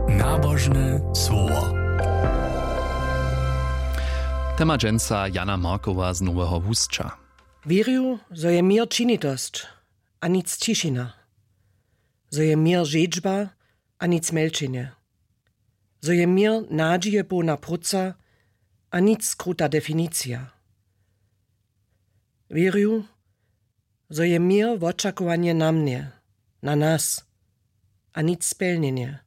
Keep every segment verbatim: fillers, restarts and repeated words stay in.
Nabožne słowo. Tema dźensa Jana Markowa z Noweho Husća. Wěrju, zo je měr činitosć a nic ćišina, zo je měr žedźba a nic mjelčenje, zo je měr nadźije połna próca a nic skruta definicija. Wěrju, zo je měr wočakowanje na mnje, na nas, a nic spjelnjenje,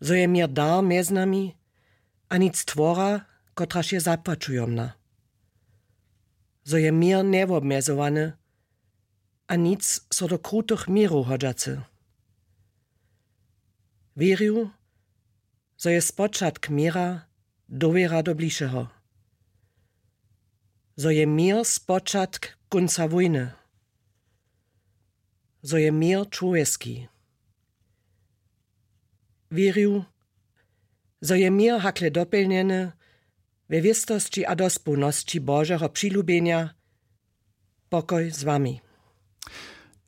zo je měr dar mjez nami a nic twora, kotraž je zapłaćujomna, zo je měr njewobmjezowany a nic so do krutych měrow hodźacy. Wěrju, zo je spočatk měra dowěra do blišeho, zo je měr spočatk kónca wójny, zo je měr čłowjeski. Wěrju, zo je měr hakle dopjelnjeny we wěstosći a dospołnosći Božeho přilubjenja. Pokoj z wami.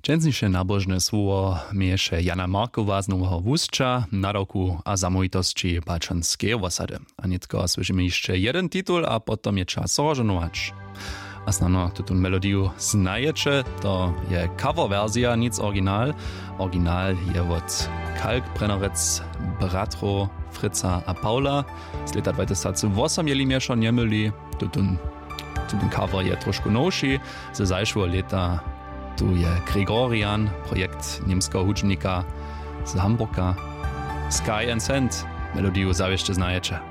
Dźensniše nabožne słowo měješe Jana Markowa z Noweho Husća, nadawku a zamołwitosći Baćonskeje wosady. A nětko słyšimy hišće jedyn titul a potom je čas rozžohnować. A snano tutón melodiju znajeće, to je cover wersija, nic original. Original je wot Kalkbrennerec, bratrow Fritza a Paula. Z lěta dwatysacwosomjeli mješo njemyli. Tutón, tutón cover je trošku nowši. Ze zašłeho lěta tu je Gregorian, projekt němskeho hudźbnika z Hamburga. Sky and Sand, melodiju zawěsće znajeće.